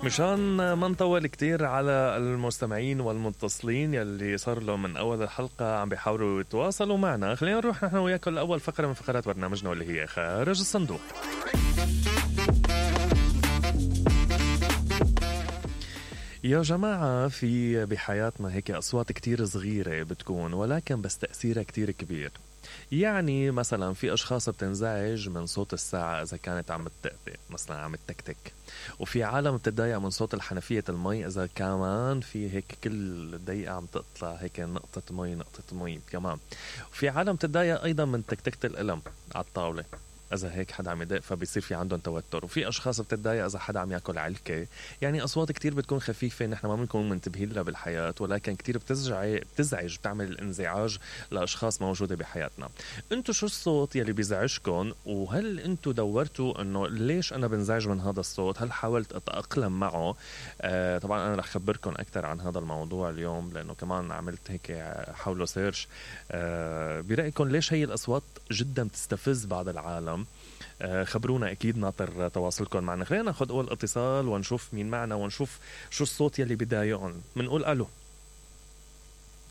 مشان ما نطول كتير على المستمعين والمتصلين يلي صار لهم من أول الحلقة عم بيحاولوا يتواصلوا معنا، خلينا نروح نحن وياكم لأول فقرة من فقرات برنامجنا واللي هي خارج الصندوق. يا جماعة، في بحياتنا هيك أصوات كتير صغيرة بتكون ولكن بس تأثيرها كتير كبير. يعني مثلا في أشخاص بتنزعج من صوت الساعة إذا كانت عم تطقطق مثلا عم تكتك، وفي عالم بتضايق من صوت الحنفية المي إذا كمان في هيك كل دقيقة عم تطلع هيك نقطة مي كمان. وفي عالم بتضايق أيضا من تكتكة القلم على الطاولة إذا هيك حدا عم يدق فبيصير في عندهم توتر. وفي أشخاص بتتضايق إذا حدا عم ياكل علكة. يعني أصوات كتير بتكون خفيفة نحن ما بنكون منتبهين لها بالحياة، ولكن كتير بتزعج بتعمل الانزعاج لأشخاص موجودة بحياتنا. انتو شو الصوت يلي بيزعجكن؟ وهل انتو دورتوا انه ليش انا بنزعج من هذا الصوت؟ هل حاولت اتأقلم معه؟ طبعا انا رح خبركن اكثر عن هذا الموضوع اليوم، لانه كمان عملت هيك حوله سيرش. برأيكم ليش هي الأصوات جدا بتستفز بعض العالم؟ خبرونا، أكيد ناطر تواصلكم معنا. خلينا ناخد أول اتصال ونشوف مين معنا ونشوف شو الصوت يلي بيضايقهم. منقول ألو.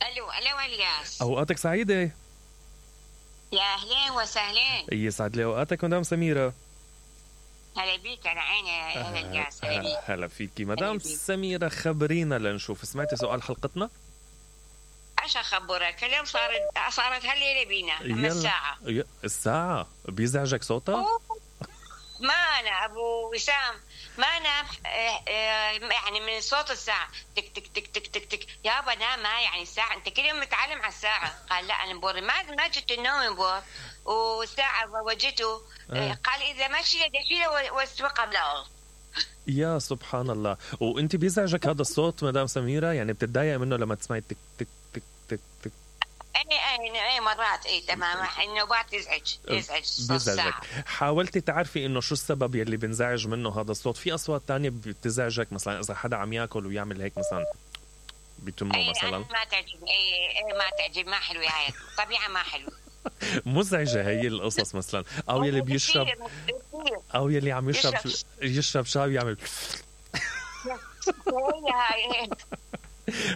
ألو الياس، أوقاتك سعيدة. يا أهلين وسهلين. يسعد لي أوقاتك مدام سميرة. هلا بيك، أنا عيني. هلا الياس. هلا فيكي مدام سميرة. خبرينا لنشوف، سمعتي سؤال حلقتنا؟ ايش اخبرك؟ اليوم صارت هالليله بينا الساعة بيزعجك صوتها؟ ما انا ابو وسام ما انام يعني من صوت الساعه تك تك تك تك تك تك. يابا نام، ما يعني الساعه انت كل يوم متعلم على الساعه. قال لا انا بور ما جت النوم بور، والساعه وجته قال اذا ماشي دشيله واسوق بلا. يا سبحان الله. وانت بيزعجك هذا الصوت مدام سميرة؟ يعني بتتضايق منه لما تسمعي تك تك تك تك تك؟ اي مرات تمام. النوبات يزعج صوت الساعة. حاولتي تعرفي انه شو السبب يلي بنزعج منه هذا الصوت؟ في اصوات تانية بتزعجك مثلا اذا حدا عم ياكل ويعمل هيك مثلا بتمه مثلا؟ ما تعجبني. ما تعجب، ما حلوه هاي الطبيعه، ما حلوه. مزعجة هي القصص مثلا. او يلي بيشرب، او يلي عم يشرب شاي يعمل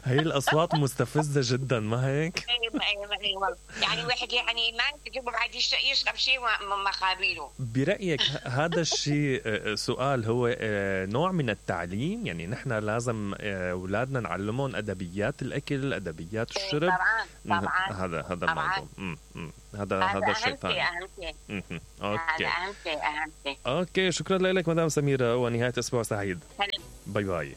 هي الأصوات مستفزة جدا، ما هيك؟ يعني واحد يعني ما يجيبه بعد يشرب شيء ما خابيله. برأيك هذا الشيء سؤال هو نوع من التعليم؟ يعني نحن لازم أولادنا نعلمهم أدبيات الأكل، أدبيات الشرب؟ طبعا هذا الموضوع. هذا الشيء ثاني. أهم شيء. أوكي، شكرا لك مدام سميرة، ونهاية أسبوع سعيد. باي باي.